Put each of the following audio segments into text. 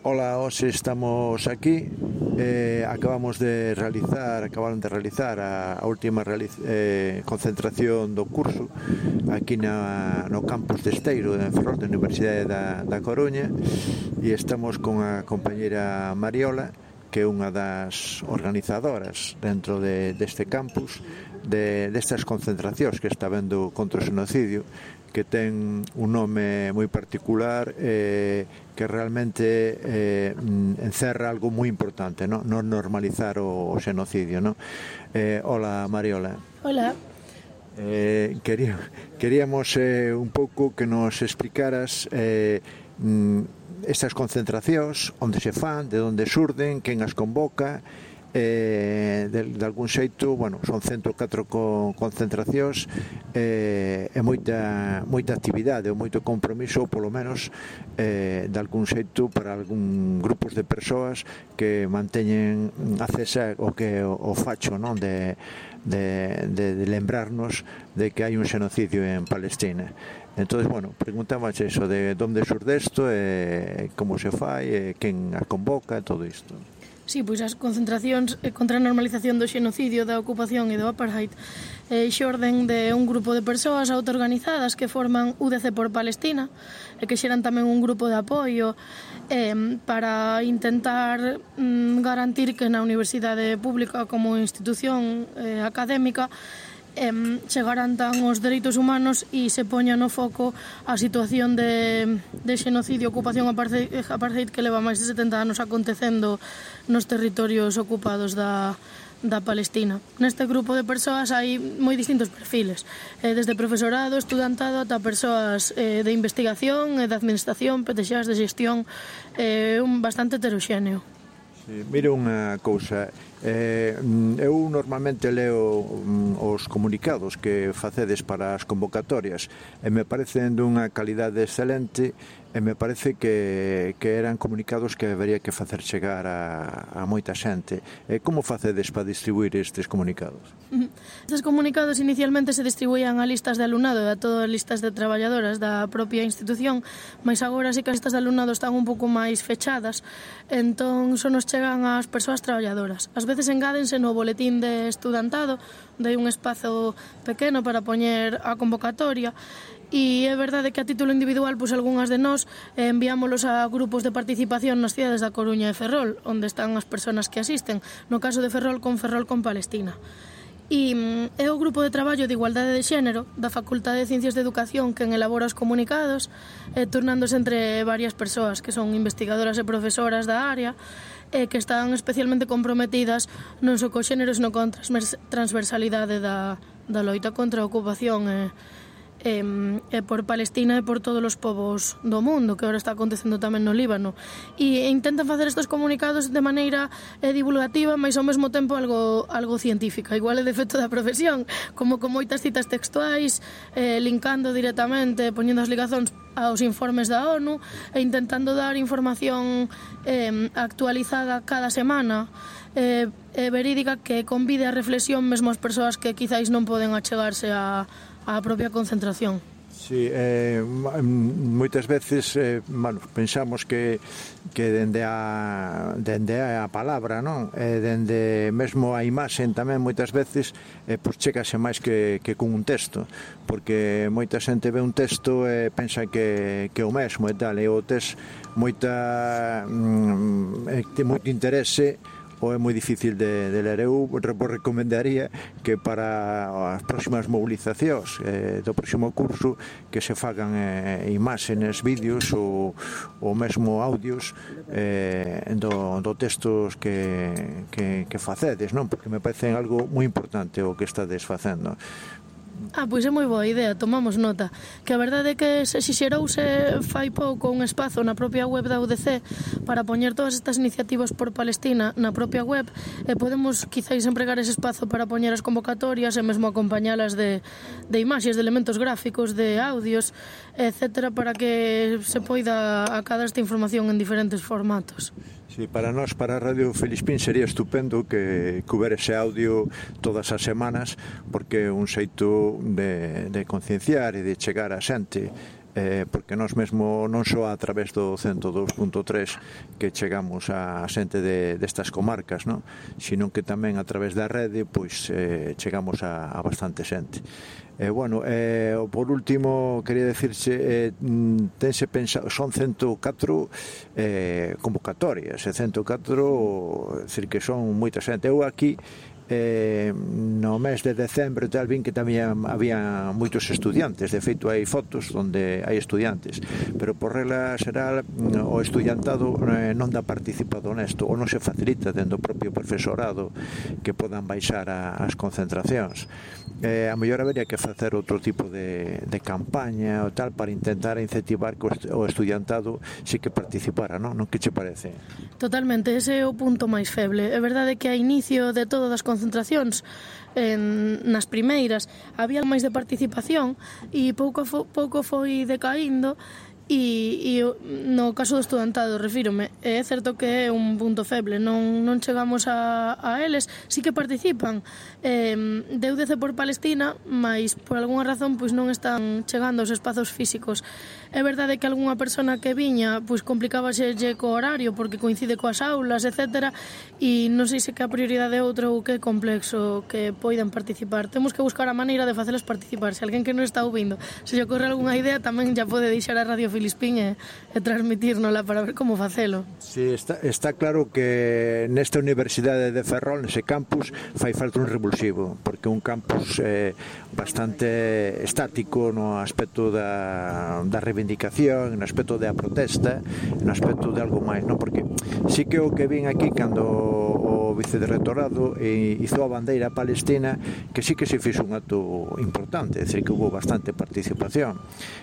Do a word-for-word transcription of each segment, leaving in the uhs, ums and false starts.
Ola, hoxe estamos aquí, eh, acabamos de realizar, acabaron de realizar a, a última realiz, eh, concentración do curso aquí na, no campus de Esteiro, en Ferrol, da Universidade da, da Coruña, e estamos con a compañera Mariola, que é unha das organizadoras dentro de, deste campus, de, destas concentracións que está vendo contra o xenocidio, que ten un nome moi particular, eh, que realmente eh, encerra algo moi importante, no, non normalizar o, o xenocidio, no? Eh, hola, Mariola. Hola. Eh, quería, queríamos eh, un pouco que nos explicaras eh, estas concentracións, onde se fan, de onde surden, quen as convoca, eh, de, de algún xeito, bueno, son ciento e catro co, concentracións eh, e moita, moita actividade ou moito compromiso, ou polo menos eh, de algún xeito para algún grupos de persoas que manteñen acesa o que o, o facho, non, de, de, de, de lembrarnos de que hai un xenocidio en Palestina. Entonces, bueno, preguntamos eso de onde surde isto, e como se fai, e quen a convoca, todo isto. Sí, pois as concentracións contra a normalización do xenocidio, da ocupación e do apartheid eh, xorden de un grupo de persoas autoorganizadas que forman U D C por Palestina e que xeran tamén un grupo de apoio eh, para intentar mm, garantir que na universidade pública como institución eh, académica Eh, se garantan os dereitos humanos e se poña no foco a situación de, de xenocidio, ocupación apartheid, apartheid que leva máis de setenta anos acontecendo nos territorios ocupados da, da Palestina. Neste grupo de persoas hai moi distintos perfiles, eh, desde profesorado, estudantado, ata persoas eh, de investigación, eh, de administración, P T Xas, de xestión, eh, un bastante heteroxéneo. Sí, mira unha cousa, eh, eu normalmente leo um, os comunicados que facedes para as convocatorias e me parecen dunha calidade excelente e me parece que, que eran comunicados que debería que facer chegar a, a moita xente. E como facedes para distribuir estes comunicados? Estes comunicados inicialmente se distribuían a listas de alumnado e a todas as listas de traballadoras da propia institución, mas agora sí que as listas de alumnado están un pouco máis fechadas, entón só nos chegan ás persoas traballadoras. Ás veces engádense no boletín de estudantado, de un espazo pequeno para poñer a convocatoria, e é verdade que a título individual, pois algunhas de nós eh, enviámolos a grupos de participación nas cidades da Coruña e Ferrol, onde están as persoas que asisten, no caso de Ferrol con Ferrol con Palestina. E é o grupo de traballo de igualdade de xénero da Facultade de Ciencias de Educación quen elabora os comunicados, eh, turnándose entre varias persoas que son investigadoras e profesoras da área, e que están especialmente comprometidas non só co xénero, sino con transversalidade da, da loita contra a ocupación e E, e por Palestina e por todos os povos do mundo, que agora está acontecendo tamén no Líbano, e intentan facer estes comunicados de maneira eh, divulgativa, mas ao mesmo tempo algo, algo científica, igual é defecto da profesión, como con moitas citas textuais, eh, linkando directamente, poñendo as ligazóns aos informes da ONU e intentando dar información eh, actualizada cada semana, eh, eh, verídica, que convide a reflexión mesmo as persoas que quizáis non poden achegarse a a propia concentración. Sí, eh, moitas veces eh, bueno, pensamos que que dende a dende a palabra, non? E dende mesmo a imaxen tamén moitas veces eh, pois chegase máis que, que con un texto, porque moita xente ve un texto e pensa que, que é o mesmo e tal, e o tes moita mm, ten moito interese ou é moi difícil de, de ler. Eu vos recomendaría que para as próximas movilizacións eh, do próximo curso que se fagan eh, imágenes, vídeos ou, ou mesmo audios eh, do, do textos que, que, que facedes, non? Porque me parece algo moi importante o que estades facendo. Ah, pois é moi boa idea, tomamos nota. Que a verdade é que se xixerouse fai pouco un espazo na propia web da U D C para poñer todas estas iniciativas por Palestina na propia web, e podemos quizáis empregar ese espazo para poñer as convocatorias e mesmo acompañalas de, de imaxes, de elementos gráficos, de audios, etcétera, para que se poida acadar esta información en diferentes formatos. Sí, para nós, para a Radio Felispín, sería estupendo que, que houbera ese audio todas as semanas, porque é un xeito de, de concienciar e de chegar a xente eh, porque nós mesmo non só a través do cento dous punto tres que chegamos a xente de, destas comarcas, non? Sino que tamén a través da rede pois eh, chegamos a, a bastante xente. Eh, bueno, eh, por último quería decirse eh, tense pensado, son ciento catro eh, convocatorias, e ciento catro, é dicir que son moita xente. Eu aquí Eh, no mes de decembro tal vin que tamén había moitos estudiantes, de feito hai fotos onde hai estudiantes, pero por regla xeral o estudiantado eh, non dá participado nesto, ou non se facilita dentro do propio profesorado que podan baixar a, as concentracións. Eh, a mellor habería que facer outro tipo de, de campaña ou tal para intentar incentivar que o estudiantado sí que participara, non? Non que che parece? Totalmente, ese é o punto máis feble. É verdade que a inicio de todas as concentracións en, nas primeiras había máis de participación e pouco, fo, pouco foi decaíndo e, e no caso do estudantado, refírome, é certo que é un punto feble, non, non chegamos a, a eles, sí que participan eh, de U D C por Palestina, mas por algunha razón pois non están chegando aos espazos físicos. É verdade que algunha persona que viña pois complicábase co horario porque coincide coas aulas, etcétera, e non sei se que a prioridade é outra ou que é complexo que poidan participar. Temos que buscar a maneira de facelas participar. Se alguén que non está ouvindo se lle ocorre algunha idea, tamén ya pode deixar a Radio Filispín e, e transmitírnola para ver como facelo. Sí, está, está claro que nesta Universidade de Ferrol, nese campus, fai falta un revulsivo, porque un campus eh, bastante estático no aspecto da, da reivindicación, no aspecto da protesta, no aspecto de algo máis, non? Porque sí que o que vin aquí cando o vicerrectorado hizo a bandeira palestina, que sí que se fixo un acto importante, é dicir, que hubo bastante participación.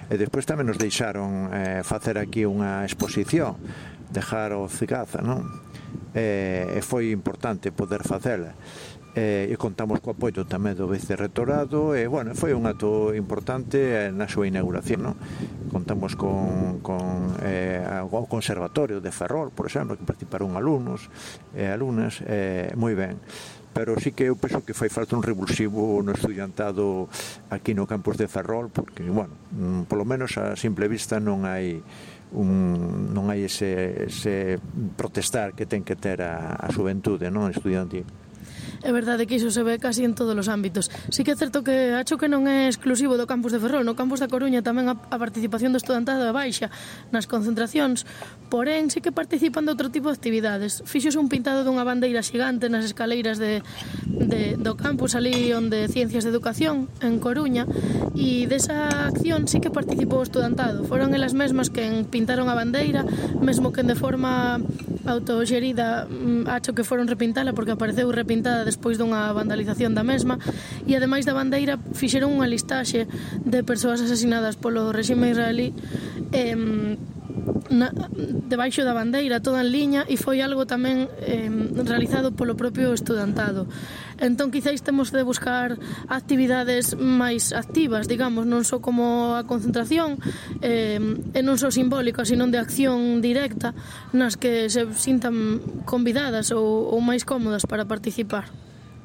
E despois tamén nos deixaron eh, facer aquí unha exposición, dejar o Cigaza, non? E, e foi importante poder facela. E, e contamos co apoio tamén do vicerrectorado e, bueno, foi un acto importante na súa inauguración, non? Contamos con, con eh, o Conservatorio de Ferrol, por exemplo, que participaron alumnos e alumnas, eh, moi ben. Pero sí que eu penso que fai falta un revulsivo no estudiantado aquí no campus de Ferrol, porque, bueno, polo menos a simple vista non hai un, non hai ese, ese protestar que ten que ter a, a xuventude, non, estudiantil. É verdade que iso se ve casi en todos os ámbitos. Sí que é certo que acho que non é exclusivo do campus de Ferrol, no campus da Coruña tamén a, a participación do estudantado é baixa nas concentracións, porén sí que participan de outro tipo de actividades. Fixose un pintado dunha bandeira xigante nas escaleiras de, de, do campus ali onde Ciencias de Educación en Coruña, e desa acción sí que participou o estudantado. Foron elas mesmas que pintaron a bandeira, mesmo que de forma autoxerida, acho que foron repintala porque apareceu repintada despois dunha vandalización da mesma, e ademais da bandeira fixeron unha listaxe de persoas asasinadas polo réxime israelí eh, na, debaixo da bandeira, toda en liña, e foi algo tamén eh, realizado polo propio estudantado. Entón quizáis temos de buscar actividades máis activas, digamos, non só como a concentración eh, e non só simbólica, sino de acción directa nas que se sintan convidadas ou, ou máis cómodas para participar.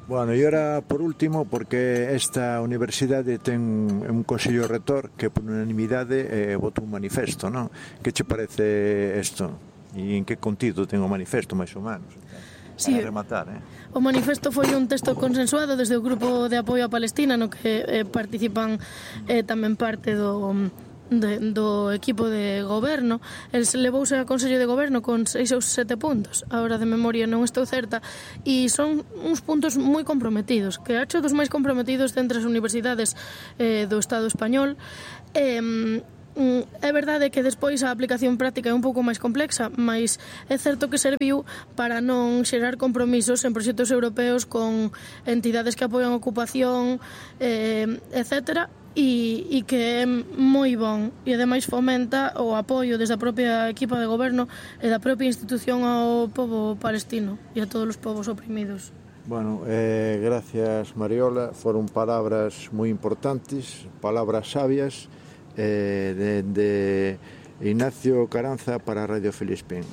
Bueno, e ora, por último, porque esta universidade ten un consello rector que por unanimidade eh, votou un manifesto, non? Que che parece isto? E en que contido ten o manifesto, máis ou menos? Sí, para rematar, eh? O manifesto foi un texto consensuado desde o Grupo de Apoio a Palestina, no que eh, participan eh, tamén parte do... De, do equipo de goberno. El se levouse a Consello de Goberno con seis ou sete puntos, agora de memoria non estou certa, e son uns puntos moi comprometidos, que acho dos máis comprometidos entre as universidades eh, do Estado español. eh, É verdade que despois a aplicación práctica é un pouco máis complexa, mas é certo que serviu para non xerar compromisos en proxectos europeos con entidades que apoian a ocupación, eh, etcétera, e, e que é moi bon, e ademais fomenta o apoio desde a propia equipa de goberno e da propia institución ao pobo palestino e a todos os povos oprimidos. Bueno, eh, gracias Mariola, foron palabras moi importantes, palabras sabias, eh, de, de Ignacio Caranza para Radio Filispín.